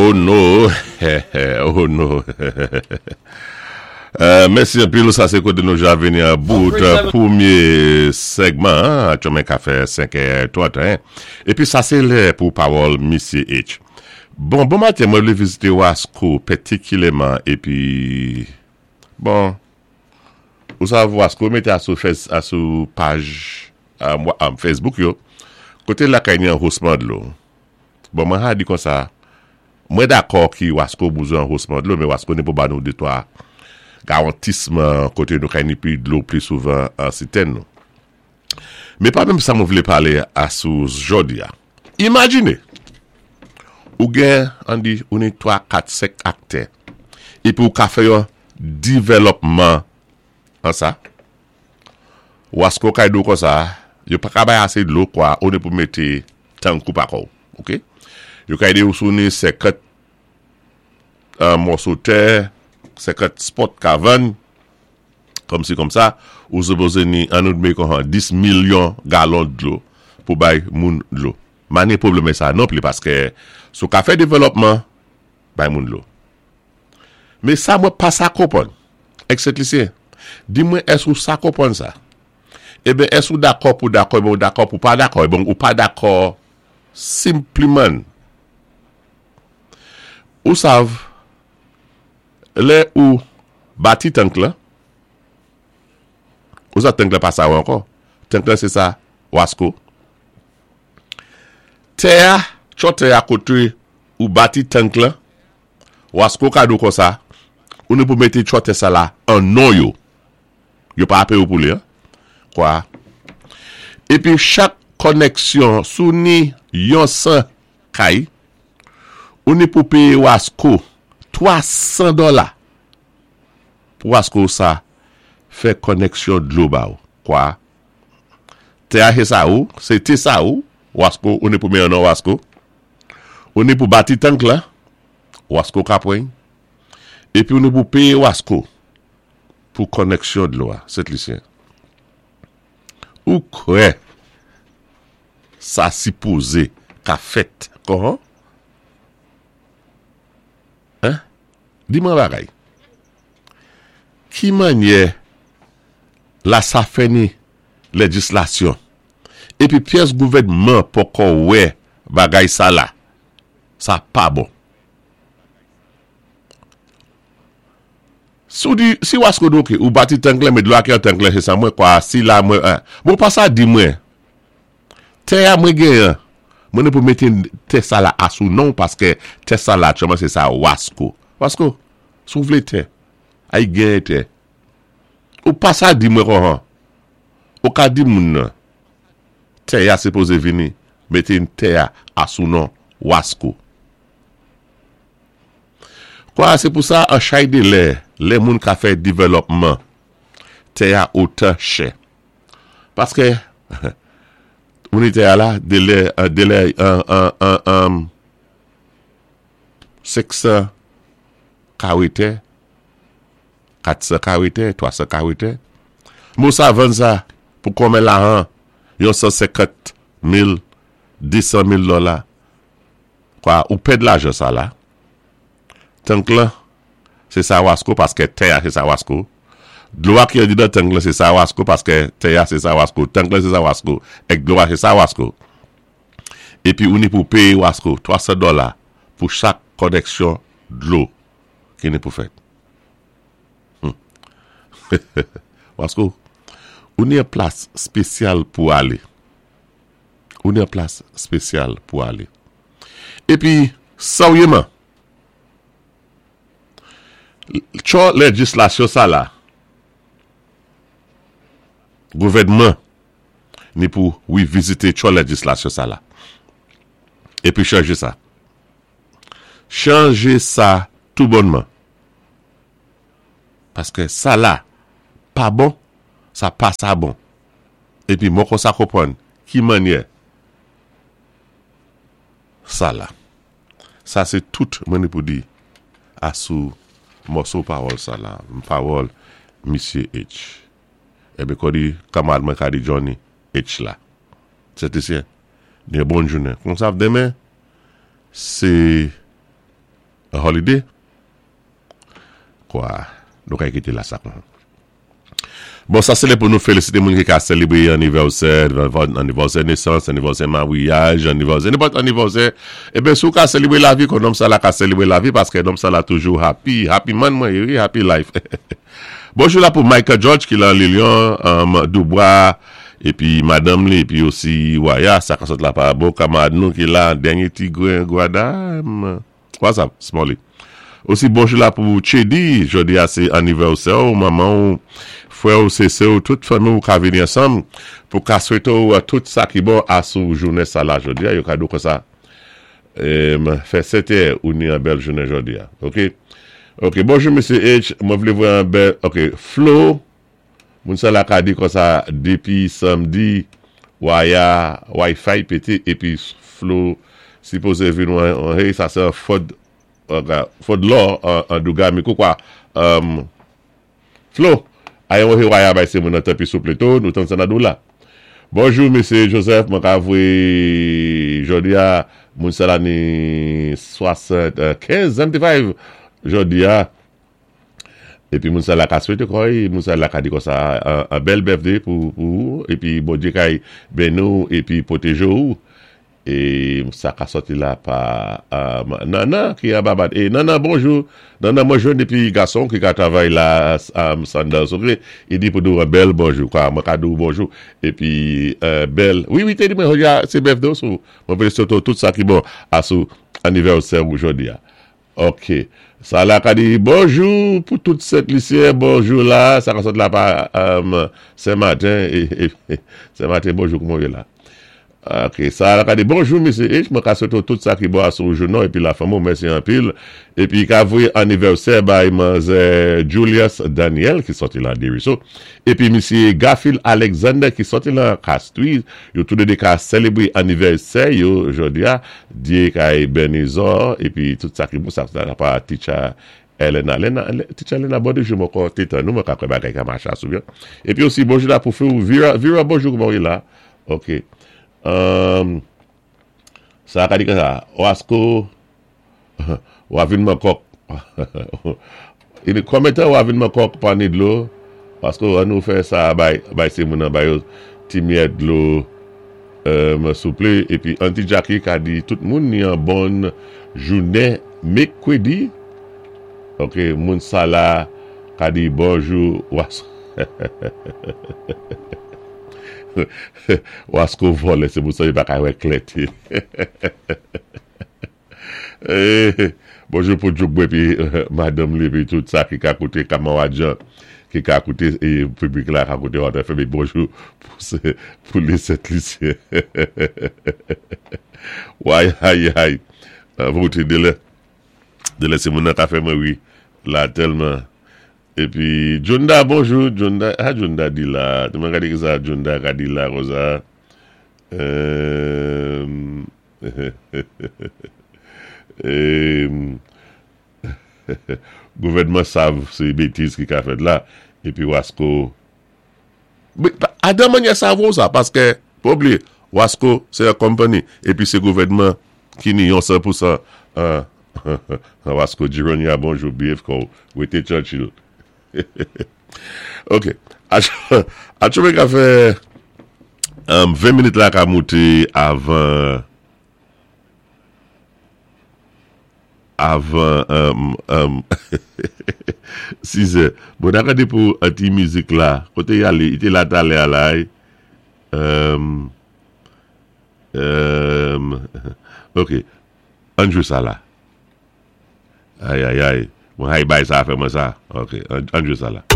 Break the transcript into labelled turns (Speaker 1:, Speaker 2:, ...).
Speaker 1: Oh no Oh no Mèsi anpil sa sé koté nou ja vini an bout pwémyé sègman an aktyèlman ka fè 5 è 31 épi sa sé lè pou pawòl Misyé H Bon bon maten mwen vlé vizité Wasko pètikilyèman épi bon ou sav Wasko mété asou asou paj Facebook yo koté lakay ni an hosman dlo Bon mwen ha di konsa, mwen dakò ki wasko bouzwen an hosman dlo men wasko ni pou ba nou de twa gawantisman kote nou kay ni pi dlo pli souvan an sitèn nou. Men pa menm sa mwen vle pale a sou jodi a. Imajine ou gen an di ou ni 3, 4, 5 aktè epi ou ka fè yon divèlòpman an sa. Wasko kay di w konsa, yo pa ka bay ase dlo kwa ou ni pou mete tankou pa kò w ok. Yo ka ede w si w ni 50 mòso tè, 50 spòt ka vann, kòmsi kòmsa, ou sipoze ni an nou dme kon 10 milyon galon dlo pou bay moun dlo. Ma ni pwoblèm sa non pli paske si w ka fè devèlòpman bay moun dlo. Men sa mwen pa sa konprann. Ex Sentlisyen, di mwen èske ou sa konprann sa? Eben èske ou dakò pou dakò eben ou dakò pou pa dakò eben ou pa dakò simpliman. Ou sav lè ou bati tank lan, ou sav tank lan pa sa ou ankò. Tank lan se sa wasko. Tè a, tchò tè a kote ou bati tank lan, wasko ka di w konsa, ou ni pou mete tchò tè sa la an non yo. Yo pa peye w pou li an. Kwa. Epi chak kònèksyon si w ni yon 100 kay, ou ni pou peye wasko 300 dòla pou wasko sa fè kònèksyon dlo ba w. Kwa. Tè a se sa ou, se te sa ou, wasko, ou ni pou men yon non wasko. Ou ni pou bati tank la, wasko ka pran. Epi ou ni pou peye wasko. Pou kònèksyon dlo a, Sent Lisyen. Ou kwè sa sipoze ka fèt kòman? Hein? Di mwen yon bagay. Ki mannyè la sa fè ni lejislasyon epi pyès gouvènman poko wè bagay sa la? Sa pa bon. Si w di, si wasko di ok, ou bati tank lan men dlo a ki nan tank lan se sa mwen kwa si la mwen a. Bon pa sa di mwen. Tè a mwen gen an. Mwen ne pou mete tè sa la a sou non w paske tè sa la aktyèlman se sa wasko. Wasko, si w vle tè, ay genyen tè. Ou pa sa di mwen konhan. Ou ka di moun nan tè a sipoze vini mete tè a a sou non wasko. Kwa se pou sa an chay de lè, lè moun ka fè divèlòpman, tè a otan chè. Paske, moun tè a la, de lè, de lè an, an, an, an, 500 kare tè, 400 kare tè, 300 kare tè. Mou sa vann sa pou konmen lahan, yon 150 mil, 200 mil dola. Kwa ou pèd lajan sa la. Tank lan se sa wasko paske tè a se sa wasko. Dlo a ki andedan tank lan se sa wasko paske tè a se sa wasko. Tank lan se sa wasko. Èk dlo a se sa wasko. Epi ou ni pou peye wasko 300 dòla pou chak kònèksyon dlo ki ni pou fèt. Hum. Wasko, ou ni yon plas spesyal pou ale. Ou nan plas spesyal pou ale. Epi, seryeman, tchò lejislasyon sa la, gouvènman ni pou revizite tchò lejislasyon sa la. Epi chanje sa. Chanje sa tou bònman. Paske sa la pa bon, sa pa sa bon. Epi mwen konsa konprann ki mannyè sa la. Sa se tout mwen ni pou di a sou mòso pawòl sa la, pawòl misye H. Enben kòdi kanmarad mwen ka di Johnny H la. Sètesyen, gen bon jounen. Konsa demen se. An holiday? Kwa, nou kay kité la sa kon. Bon, sa sé lè pou nou félisité moun ki ka sélébwé annivèsè, annivèsè nesans, annivèsè maryaj, annivèsè, nenpòt annivèsè. Eben, si ou ka sélébwé lavi, kon nonm sa la ka sélébwé lavi paskè nonm sa la toujou happy, happy man mwen yé wi, happy life. Bonjou la pou Michael George ki lan Lilion, Dubois, epi madanm li, epi osi Waya, sa ka sot la pa bon kamarad nou ki la, dènye ti gren gwada. What's up Smolly? Osi bonjou la pou Chedy, jodi a se anivèsè w, manman w, frè w, se sè w, tout fanmi w ka vini ansanm pou ka swete w tout sa ki bon a sou jounen sa la jodi a, yo ka di w konsa fè sèten ou ni an bèl jounen jodi a ok. Ok bonjou mesye H, mwen vle voye an bèl ok Flo Moun sa la ka di konsa depi samdi waya wifi pete epi flo sipoze vin wan hey sa se an fod fod lò an dougami koukwa humm flo ayon he waya bay se moun nan tanpi souple to nou tann sa nan dou la bonjou mesye Joseph mwen ka voye jodia moun sa la ni 75 75 jodia Epi moun sa la ka swete kòy, moun sa la ka di konsa an bèl birthday pou ou, epi Bondye kay beni w epi pwoteje w, e sa ka sòti la pa Nana ki anba bat, e Nana bonjou, Nana mwen jwenn depi gason ki ka travay la Sanders ok, li di pou di w an bèl bonjou, kwa mwen ka di w bonjou, epi bèl, wi wi te di mwen jodi a se birthday w sou mwen vle swete w tout sa ki bon a sou anivèsè ou jodi a. Ok sa la ka di bonjou pou tout sent lisyen bonjou la sa ka sot la pa sen maten sen maten bonjou kouman ou ye la ok sa la ka di bonjou mesye H mwen ka swete w tout sa ki bon asou jounen w epi la fanmi w mèsi anpil epi ka voye anivèsè bay manzè Julius Daniel ki soti lan Deriso epi misye Garfield Alexander ki soti lan Castries yo tou de 2 ka selebre anivèsè yo jodi a Dye kay beni zò epi tout sa ki bon sa sa pa teacher Elena Lena teacher Elena bon de jou mwen ankò te tann ou mwen ka kwè bagay ka mache asou byen epi osi bonjou la pou few Vira Vira bonjou kouman ou ye la ok humm sa ka di konsa Wasko Wa vin man kòk Konbyen tan wa vin man kòk pa ni dlo paske an nou fè sa bay bay se moun an ba yo ti miyèt dlo souple epi anti Jacky ka di tout moun ni an bòn jounen mekwedi ok moun sa la ka di bonjou wasko vòlè se pou sa li pa ka wè klè te. Bonjou pou Djouk epi madanm li epi tout sa ki ka koute Kamawadjan ki ka koute piblik la ka koute Hot FM e bonjou pou les Sent Lisyen Wayayay Vote delè delè se moun nan ka fè mwen ri la tèlman epi Djounda bonjou Djounda sa Djounda di la mwen gade kisa Djounda ka di la konsa eemm. Gouvènman sav se betiz ki ka fèt la epi wasko Adan manyè sa vo sa paske pa bliye wasko se yon company epi se gouvènman ki ni yon 100% an wasko Jironya bonjou behave kòw wete Churchill Ok Atchoumé ka fè 20 minit la ka moute avan avan 6 è Bon na gade pou ti mizik la Kote y ale? Li te la talè a la Ok Ann jwe sa la Ayayay Mwen hay bay sa fè mwen sa Ok ann jwe sa la.